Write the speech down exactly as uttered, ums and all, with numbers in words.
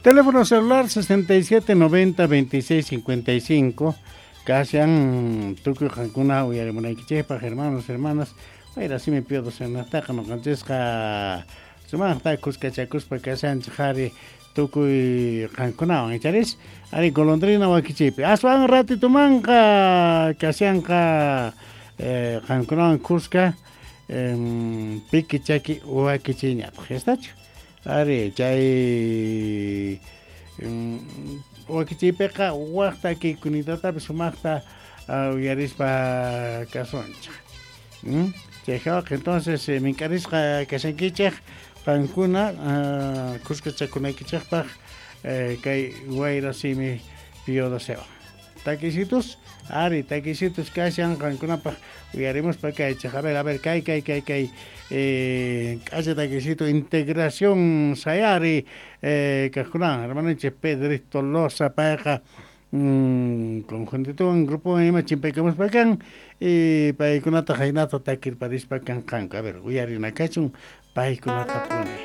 Teléfono celular sesenta y siete noventa veintiséis cincuenta y cinco. Kashan tukuy qankuna uyarimunaykichikpaq, hermanos, hermanas. Wayra simi piodo senaqtaqa noqanchisqa sumaqta kuskachakuspa kashanchik qhari tukuy qankunawan, icharis? Ari golondrina wakichiypi. Aswan ratitumanqa kashanqa eh, qankunawan kuska eh, piki chaki wakichiyñataq, estachu? Ari chay wakichiypiqa waq takiykunitatapi sumaqta uh, uyarispa kasunchik. ¿Mm? Chay entonces eh, mink'arisqa kashankichik qankuna uh, kuskachakunaykichikpaq eh, kay wayra simi piodosewan. Takisitos, ari takisitos kashan qankunapaq uyarimuspa kaychik. A ver, a ver, kay kay kay kay eh, k'acha takisito integración sayari eh, kaqkunawan hermanonchik Pedrito Loza payqa mm, conjuntituwan grupowan ima chimpaykamuspa kan y paykunata haynata takirparispa kanqanku. A ver, uyarinakachun paykunatapuni.